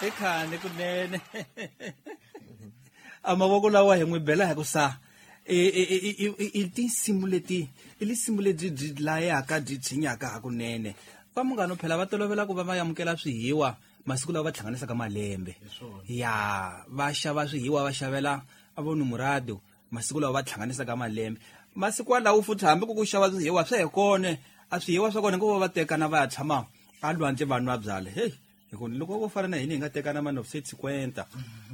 I khale kunene. A mavoko lawa hi n'wi bela hi ku sa i tinsimu leti i lisimu lebyi byi layaka byi tshinyaka hakunene. Va munghano phela va tolovela ku va va amukela swihiwa masiku lawa va hlanganisaka malembe. Ya va xava swihiwa va xavela a vo numurado masiku lawa va hlanganisaka malembe. Masiku walawo futhi hambi ku ku xava swihiwa swa he kone a swihiwa swa kona ngo va tekana va ya tshama a lwandle va nwa byala. Hey, hi ku loko vo fana na hina hi nga tekana ma 950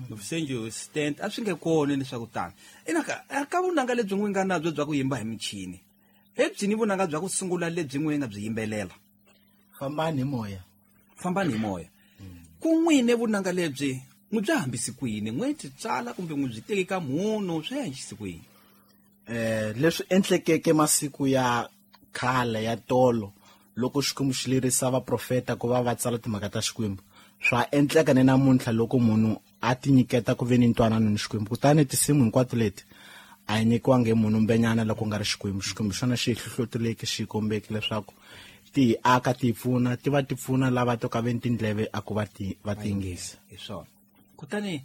970 a swi nge kona leswaku tani. Ina ka vunanga lebyi n'wi nga nabyo bya ku yimba hi michini, ebyini vunanga bya ku sungula lebyi n'wi nga byi yimbelela? Fambani hi moya. Fambani hi moya. Ku n'wine vunanga lebyi n'wi bya hambisi kwini? N'wi ti tsala kumbe n'wi byi teki ka munhu swi ya hambisi kwini? Leswi endlekeke masiku ya khale ya tolo loko Xikwembu xi lerisa vaprofeta ku va va tsala timhaka ta Xikwembu, swa endleka ni namuntlha loko munhu a tinyiketa ku ve ni ntwanano ni Xikwembu. Kutani tinsimu hinkwato leti a yi nyikiwangi hi munhu mbenyana loko nga ri Xikwembu. Xikwembu xona xi hi hlohloteleke, xi hi kombeke leswaku ti hi aka, ti hi pfuna, ti va ti pfuna lava to ka ve ni tindleve a ku va ti va ti yingisa. Hi swona. Kutani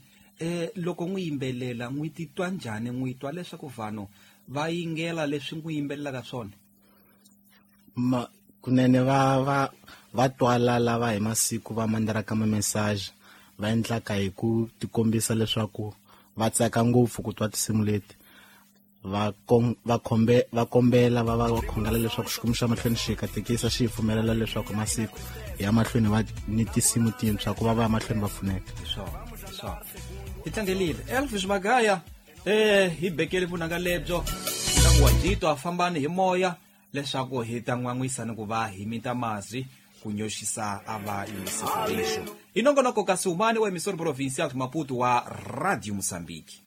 loko n'wi yimbelela n'wi titwa njhani? N'wi twa leswaku vanhu va yingela leswi n'wi yimbelelaka swona? Kunene va twala lava hi masiku va mandaraka ma message, va endlaka hi ku tikombisa leswaku va tsaka ngopfu ku twa tinsimu leti. Va kombela va va khongela leswaku Xikwembu xa mahlweni xi katekisa, xi pfumelela leswaku masiku ya mahlweni va ni tinsimu tintshwa ku va va ya mahlweni va pfuneka. Swona. Hi tlangelile Elvis Magaya, hi bekele vunanga lebyo ka ku wa byitwa fambani hi moya leswaku hi ta n'wan'wisa ni ku va hi mita mazi ku nyoxisa a va yingiseri. Hi nongonoko kasi umani wa emisoro provincial Maputo wa Radio Mozambique.